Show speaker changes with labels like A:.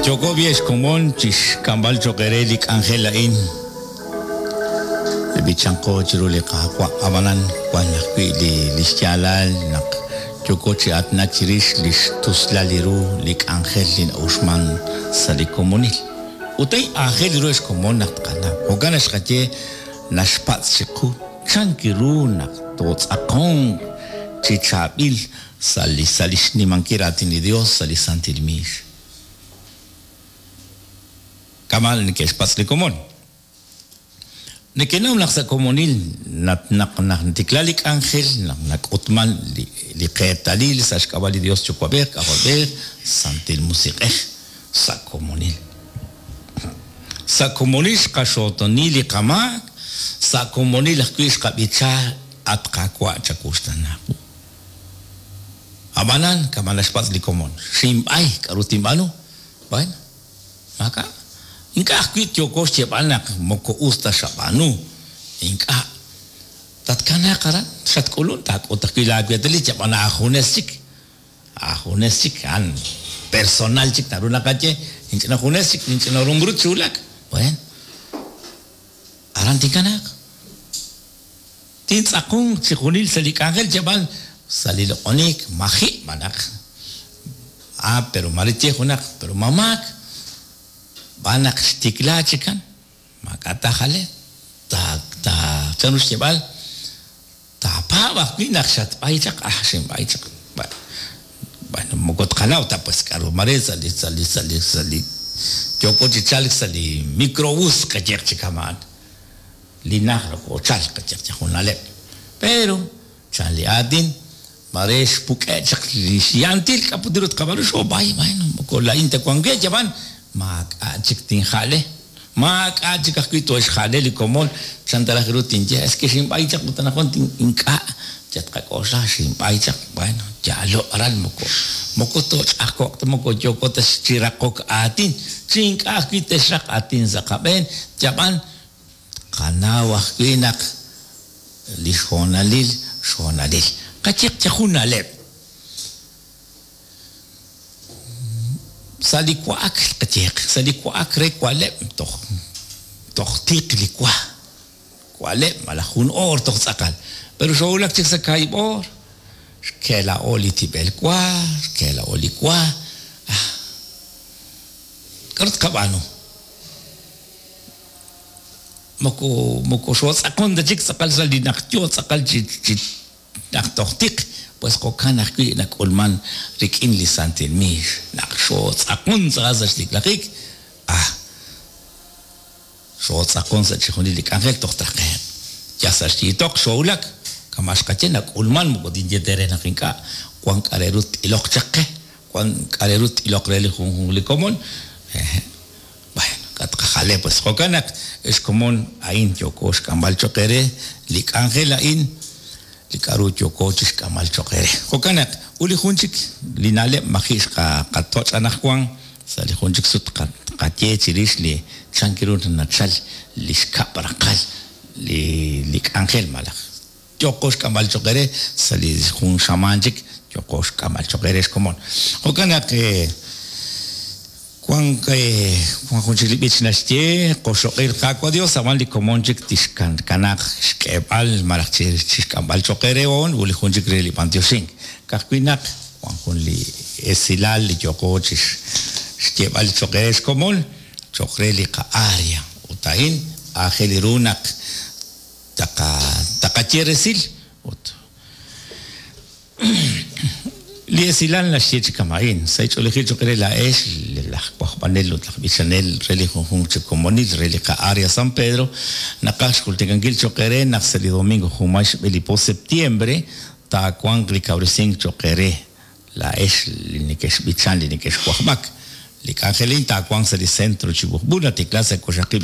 A: Yooko b'i' ex komon chixk'amb'al choq' eere li k'anjel a'in. Li b'ichanqo chiru li Qaawa', ab'anan wan ajwi' li lix yaalal naq yooko chi aatinak chirix lix tuslal li ru li k'anjel li na'uxman sa' li komonil. Ut a'in aajel ru ex komon naq tqanaw. Jo'kan naq xqaye naxpatz' chiqu chan ru naq tootz'aqonq chi chaab'il sa' li sa' li xnimankil raatin li Dios sa' li santil miix. Kama' neke'xpatz' li komon. Nekenaw naq sa' komonil naq naq natikla li k'anjel naq nak'utman li li qeetalil sa' xk'ab'a' li Dios Yuwa'b'ej, K'ajolb'ej, Santil Musiq'ej sa' komonil. Sa' komonil xqaxootoni li qamaak, sa' komonil ajwi' xqab'icha At Qaawa' chawuxtaana wu. Ab'anan, kama' naxpatz' li komon, xinb'ay, k'a'ru tinb'aanu? Bueno, maak'a'. Ink'a' ajwi' yooko xyeeb'al naq moko us ta xab'aanu. Ink'a'. Tatkanaaq aran, xatk'ulun, taak'ut ajwi' laaweetalil, yab'an aajunes chik. Aajunes chik, a'an personal chik naru naqaye, inch'ina junes chik, inch'ina rumbrut xwulak. Bueno, aran tinkanaaq. Tintz'aqonq chi junil sa' li k'anjel yab'an sa' li loq'oniik maji' malaj Ah, pero mare tye junaq, pero ma maak, b'an naq xtikla chikan, maak'a' taajale, ta, ta, chan ru xyeeb'al, taapaab' ajwi' naq xatb'ay chaq, ah, xinb'ay chaq, bueno, moko tqanaw ta pues k'a'ru mare sa' li, sa' li, sa' li, sa' li yooko chi chalk sa' li microbús qayehaq chi kama'an. Li najt nokochalk qayehaq chi jun na'leb'. Pero, chan li aatin, mare xpuk'e' chaq li xyantil k'a' put ru tqab'aanu, xoob'ay, bueno, moko laa'in ta wan we, yab'an maak'a' chik tinja'le, maak'a' chik ajwi' tooxja'le li komon, chan ta raj ru tinye, es que xinb'ay chaq ut anaqwan ink'a' yal tqak'oxla xinb'ay chaq, bueno, yaalo' aran moko moko tooch'ajko'q ta, moko yooko ta chi raqok aatin, chi ink'a' ajwi' te'xraq aatin sa' qab'een, yab'an Tqanaw ajwi' naq li xhoonalil xhoonalil. Qayeq chaq jun na'leb'. Sa' li wa'ak qayeq, sa' li wa'ak re wa'leb' toj toj tiq li wa. Wa'leb' malaj jun oor toj tz'aqal. Pero xoowulak chik sa' kaahib' oor, xke'la'o li tib'el wa, xke'la'o li wa. Ah, k'aru tqab'aanu? Moko moko xootz'aqon ta chik tz'aqal sa' li naq yoo tz'aqal chi chi naq toj tiq, pues jo'kan ajwi' nak'ulman rik'in li santil miix, naq xootz'aqon tz'aqal sa' xtiklajik, ah, xootz'aqon sa' chixjunil li k'anjel toj traqe'q. Yal sa' xyiitoq xoowulak, kama' xqaye nak'ulman moko tinye ta eere naq ink'a' wan k'a' re ru t'iloq chaq qe, wan k'a' re ru t'iloq re li junjunq li komon, hehe'. Bueno, k'a' tqajale pues. Jo'kan naq, ex komon, a'in yooko xk'amb'al cho'q eere, li k'anjel a'in, li k'a'ru yooko chixk'amb'al cho'q eere. Jo'kan naq, ut li jun chik, li na'leb' maji' xqatoch' anaqwan, sa' li jun chik sut tqaye chirix li chan ru nachal li xkab' raqal li li k'anjel malaj yooqo xk'amb'al cho'q eere sa' li jun xamaan chik yooqo xk'amb'al cho'q eere xkomon. Jo'kan naq Wank wan jun chik li b'ich naxye, Qoxoq'il Qaawa' Dios, ab'an li komon chik tixkanaaq xk'eeb'al malaj chixk'amb'al cho'q eere hoon ut li jun chik re li b'antioxink. Ka'ajwi' naq wan jun li esilal li yooqo chixyeeb'al cho'q eere xkomon cho'q re li qa-área ut a'in aajel ru naq taqaye resil ut Li esilal naxye chi kama'in, Sa' ch'oolejil choq' eere laa'ex, laj wajb'anel ut laj b'ichanel re li junjunq chi komonil re li qa-Area San Pedro, naqaj xjultikankil choq' eere naq sa' li domingo junmay xb'e li po septiembre taawanq li kawresink choq' eere laa'ex li nekexb'ichan li nekexwajb'ak. Li k'anjelin taawanq sa' li Centro Chibujb'ul natikla sa' koxaqib'